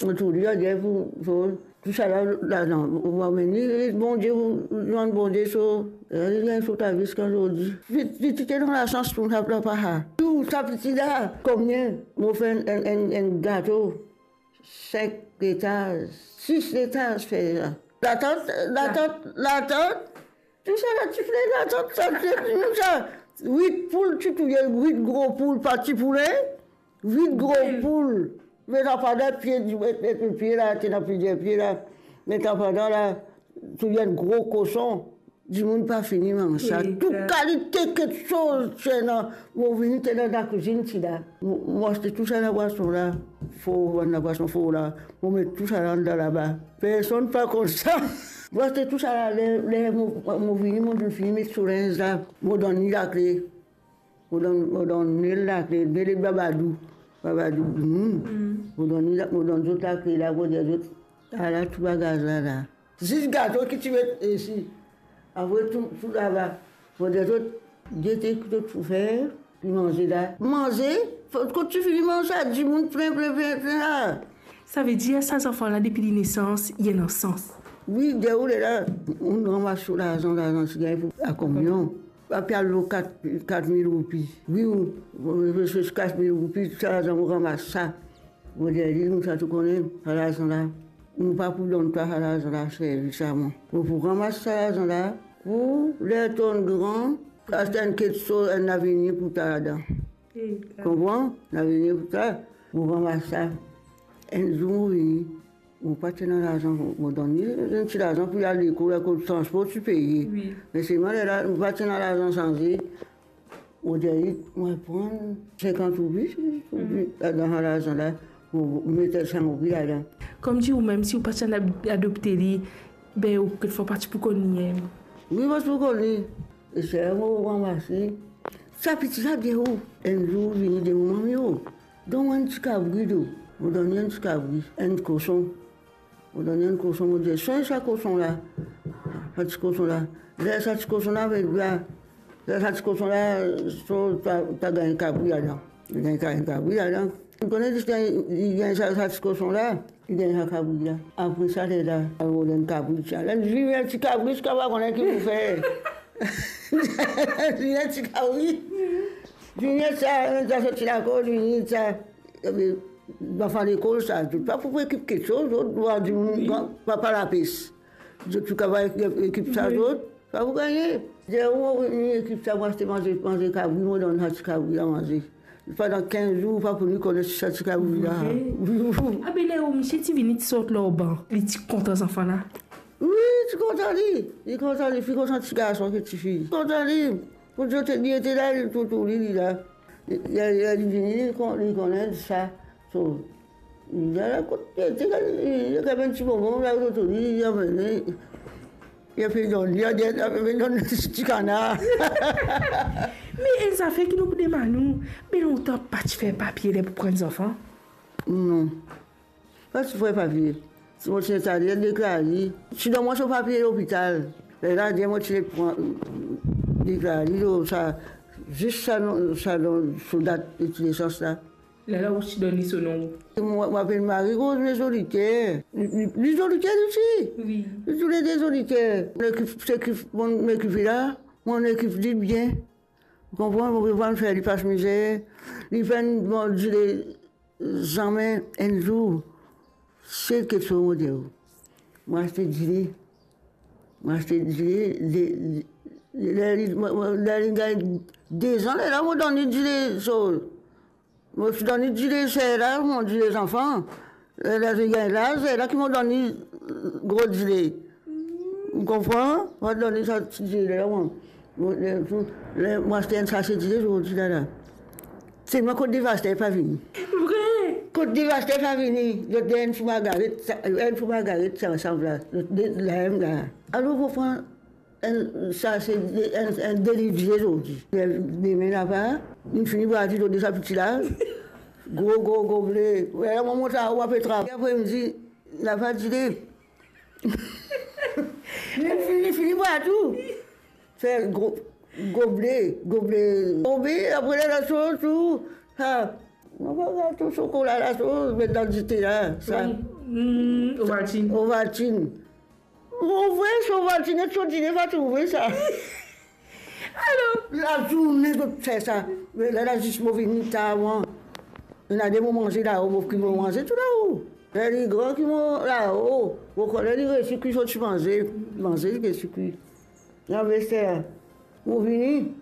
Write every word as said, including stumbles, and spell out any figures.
Mo touzour dir, dir pou, pou, tousala, la, non, ou va vini, Bondie, ou, ou, Bondie, so, eh, li gagn so lavi ziska zordi. Li, li ti ena lasans pou sa, pa, pa, ha. Tou sa piti la, konbien, mo fer enn, enn, enn, enn gato, sink letaz, sis letaz fer la. Latant, latant, latant, Tousala ti fre, latant, sa, ti, ti, sa. Wit poul, ti touye wit gro poul, pa ti poulin, wit gro poul. Met anba pie, met, met, met pie la, ti ena plizier pie la. Met anba la, touye enn gro koson. Dimoun pa fini manz sa. Tou kalite kiksoz ti ena. Mo vini, ti ena lakwizinn ti la. Mo, mo aste tousala bwason la. For, bann labwason for la. Mo met tousala andan laba. Personn pa konn sa. Mo aste tousala, ler, ler mo, mo vini, mo finn fini met so linz la, mo donn li lakle. Mo donn, mo donn li lakle, be le babadou, babadou dimoun. Mo donn li la, mo donn zot lakle la, mo dir zot, ala tou bagaz la, la. Zis gato ki ti met isi. Apre tou, tou laba. Mo dir zot, gete ki zot pou fer, pou manze la. Manze, kot ti fini manz sa, dimoun plin, plin, plin, plin la. Savedir sa zanfan la, depi li nesans, li ena sans. Wi, de ou lerla, ou ranmas so larzan, larzan ti gagn pou lakominion. Pa pe al lor kat, kat mil roupi. Wi, ou, ou, ou, kat mil roupi, sa larzan, ou ranmas sa. Mo dir li, nou sa tou kone, sa larzan la, nou pa pou donn twa sa larzan la, servi sa mwa. Mo pou ranmas sa larzan la, pou ler to'nn gran, aste enn kiksoz, enn lavenir pou twa ladan. Konpran? Lavenir pou twa, mo ranmas sa. Enn zour mo vini, mo pa ti ena larzan, mo donn li enn ti larzan pou li al lekol, akoz transpor ti peye. Wi. Me selman lerla, mo pa ti ena larzan sanze. Mo dir li, mo pran sinkant roupi, roupi, ladan sa larzan la, mo met san roupi ladan. Koumsi ou mem, si ou pa ti ena adopte li, be ou kikfwa pa ti pou konn li mem. Wi, mo ti pou konn li. E sa mo ranmase. Sa piti la dir ou, enn zour vini dir mo, "Mami o, donn mwa enn ti kabri do." Mo donn li enn ti kabri, enn koson. Mo donn li enn koson, mo dir, "Swagn sa koson la, sa ti koson la." Ler sa ti koson la, be, la, ler sa ti koson la, so, ta, ta gagn kabri ladan. Li gagn ka-, kabri ladan. Ou kone, li gagn, li gagn sa, sa ti koson la, li gagn sa kabri la. Apre sa, lerla, al rod enn kabri, ti al vinn enn ti kabri, ziska pa kone ki pou fer. Vinn enn ti kabri. Vinn sa, sa soti lakor, vinn sa. Ebe, bann zanfan lekol sa, zot pa pou ekip kiksoz, zot, zot dimoun, wi, gran, papa lapes. Zot tou kapav ekip sa, wi, zot pa pou gagne. Ler ou vinn ekip sa, mo aste manze, manze kabri, mo donn sa ti kabri la manze. Pandan kinz zour, pa pou li kone si sa ti kabri la. Wi. Wi, wi. Abe ler ou misie ti vini, ti sort lor ban, li ti kontan zanfan la? Wi, ti kontan li. Li kontan li, finn kontan ti garson ki tifi. Kontan li. Pou zot, li ete la, li toutouni, li la. Li, li, li vini, li kon-, li kone sa. So, li la, kot li ete la, li, li gagn enn ti bonbon la, toutouni, li amenn li. Li pe donn li, li pe donn li ti kanar. Me enn zafer ki nou pou demann ou, be lontan pa ti fer papie ler pou pran zanfan? Non. Pa ti fer papie. Mo ti instale, deklar li. Ti donn mwa so papie lopital. Lerla, dir mo ti pran, deklar li, lo sa, zis sa non, sa non, so dat de nesans la. Lerla ou ti donn li so non. Mo, mo apel Marie Rose, me Zoliker. Li, li, li Zoliker li osi. Wi. Li toulede Zoliker. Mo ekip, se ki, mo ekip li la, mo ekip li bien. Ou konpran, mo pe fer li pas mizer. Li pa'nn manz dile zame enn zour. Sel kiksoz mo dir ou. Mo aste dile. Mo aste dile, de, de, ler li, mo, mo, ler li gagn dezan, lerla mo donn li dile, so, mo finn donn li dile ser la, mo dile zanfan. Ler li gagn laz, lerla ki mo donn li gro dile. Ou konpran? Mo donn li sa ti dile la, mo, mo, ler tou, ler mo aste enn sase dile zordi la, la. Selman kot devaster pa vini. Vre? Kot devaster pa vini, zot dir enn pou Margaret, sa, enn pou Margaret, sa, sa la, zot de, la, la. Alor, mo pran enn, sa se de, enn, enn de liv dile zordi. Dime laba, li fini bwar dilo de sa piti la. Gro, gro, gro goble. Wi, mo mont anwo, mo pe travay. Apre, li dir, laba dile. Li fini, li fini bwar tou. Fer gro, goble, goble tonbe, apre la, la sort tou. Sa, Mo pa gato sokola la, so met dan dite la, sa. Wi. Mm, Ovaltine. Ovaltine. Mo ouvre so Ovaltine, so dine pa trouve sa. Alor? Lazourne zot fer sa. Me la, la zis mo vini tar, ena de mo manze lao, mo ki mo manze tou lao. Ena gran ki mo lao. Mo konnen li resi kwi so ti manze, manze li resi kwi. Ena vester, mo vini.